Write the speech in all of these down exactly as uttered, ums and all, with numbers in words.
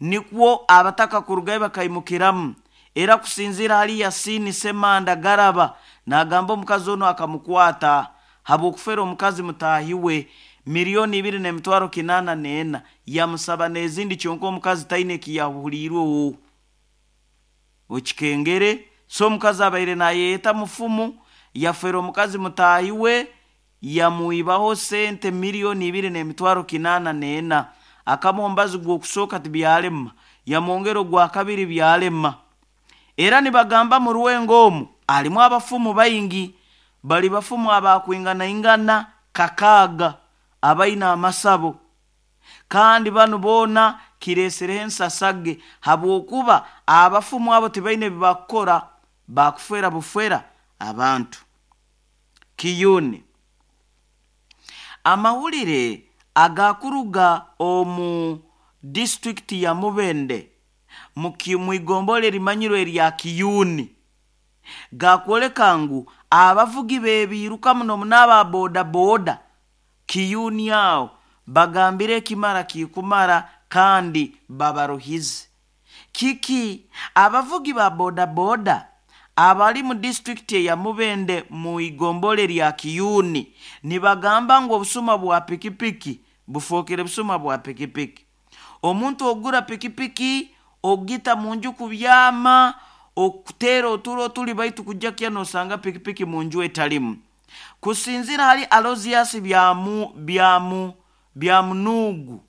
Nikwo abataka kurugayo bakaimukiramu. Era kusinzira hali Yasini Semanda Garaba nagamba omukazi ono akamukwata habwokufera omukazi mutahi we miliyoni ibiri n'emitwaro kinana n'ena, yamusaba n'ezindi kyonka omukazi taine ekiyahuliirweho okikengere. So omukazi abaire nayeyeta mufumu, yafera omukazi mutahi we, yamwibaho sente miliyoni ibiri n'emitwaro kinana n'ena. Akamuha omubazi gw'okusooka tibyalema, yamwongera ogwa kabiri byalema. Era nibagamba mu rwengo omu alimu abafumu baingi, bali bafumu abakwinganaingana kakaaga abaine amasabo, kandi banu boona kireesereho ensasage habwokuba abafumu abo tibaine ebibakukora, bakufera bufera abantu. Kiyuni amahulire agakuruga omu disitulikiti ya Mubende mwigombole erimanyirwe erya Kiyuni gakwoleka ngu abavugi bebiiruka muno muno aba boda boda Kiyuni aho bagambire ekimara kikumara kandi babaruhize. Kiki abavugi ba boda boda abali mu disitulikiti eya Mubende mu igombole lya Kiyuni nibagamba ngu obusuma bwa pikipiki bufookere busuma bwa pikipiki. Omuntu ogura pikipiki ogita munju kubyama okuteera oturo tuli baitu kujja kya nosanga pikipiki munju etalimu. Kusinzira hali Alozias byamu byamu Byamunugu,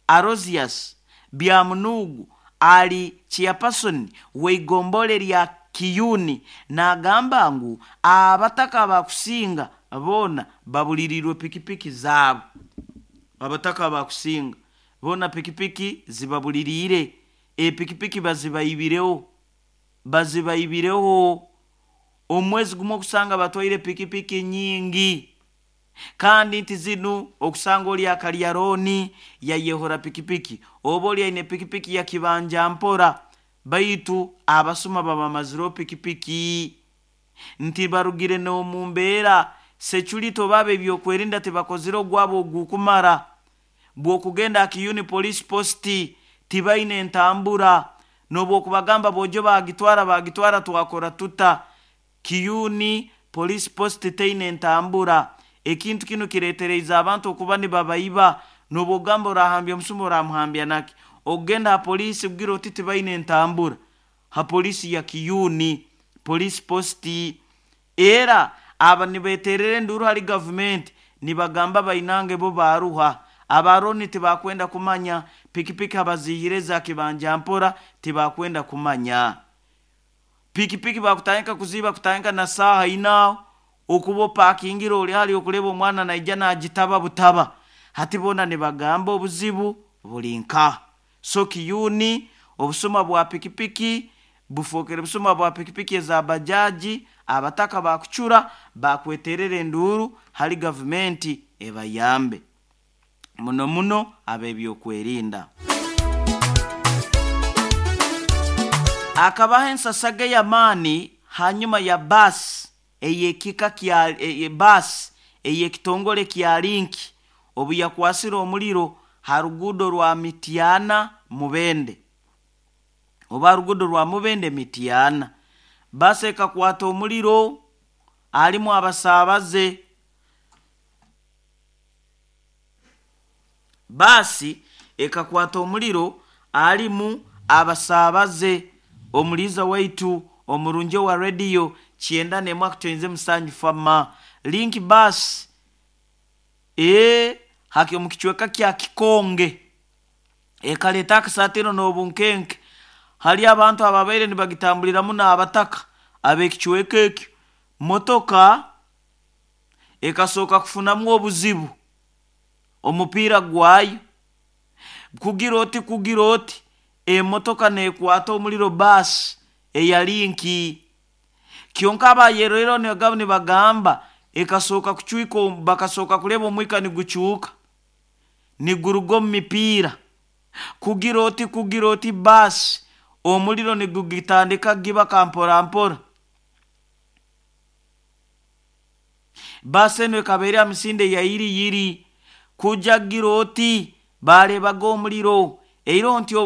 Alozias Byamunugu ali chairperson w'igombole lya Kiyuni nagamba ngu abataka bakusinga boona babulirirwe pikipiki zaabo. Abataka bakusinga boona pikipiki zibabuliriire, epikipiki bazibaibireho bazibaibireho omwezi gumu okusanga batwaire pikipiki nyingi, kandi nti zinu okusanga oli akalya rooni yayehora pikipiki, oba oli aine pikipiki ya kibanja mpora, baitu abasuma babamazireho pikipiki. Nti barugire n'omu mbeera security oba ab'ebyokwerinda tibakozire ogwabo ogukumara. Bw'okugenda Kiyuni police post tibaine entambura, n'obwokubagamba bojo bagitwara bagitwara twakora tuta. Kiyuni police post teine entambura. Ekintu kinu kireetereize abantu okuba nibabaiba, n'obwogamba orahambya omusuma oramuhambya naki. Okugenda ha poliisi kugira oti tibaine entambura ha poliisi ya Kiyuni police post. Era aba nibeterera enduru hali gavumenti nibagamba bainange bo baruha abaroni tibakwenda kumanya pikipiki abazihire za kibanja mpora tibakwenda kumanya pikipiki bakutandika kuziba kutandika na saaha ina okuba opakingira oli hali okuleba omwana naija nagitaba butaba. Hati boona nibagamba obuzibu buli nka so Kiyuni obusuma bwa pikipiki bufookere busuma bwa pikipiki eza bajaji. Abataka bakucura bakweterera enduru hali gavumenti ebayambe muno muno ab'ebyokwerinda. Akabaho ensasage y'amaani hanyuma ya baasi ey'ekika kya e, baasi ey'ekitongole kya Linki obu yakwasire omuliro ha ruguudo rwa Mityana Mubende, oba ruguudo rwa Mubende Mityana. Baasi ekakwata omuliro alimu abasaabaze. Baasi ekakwata omuliro alimu abasaabaze. Omuliiza waitu omurungi wa rediyo kyenda n'emwe akutwenze musanju fama Link bus ee haki omu kicweka kya Kikonge ekaleeta akasatiro n'obunkenke hali abantu ababaire nibagitambuliramu n'abataka ab'ekicweka ekyo. Motoka ekasooka kufunamu obuzibu omupiira gwayo kugira oti kugira oti emotoka nekwata omuliro baasi eya Linki. Kyonka abayerero nibagamba nibagamba ekasooka kucwika, bakasooka kuleba omwika nigucuuka niguruga omu mipiira kugira oti kugira oti baasi omuliro nigugitandika gibaka mpora mpora. Baasi enu ekaba eri aha misinde ya yiri yiri kuja gira oti barebaga omuliro eiro nti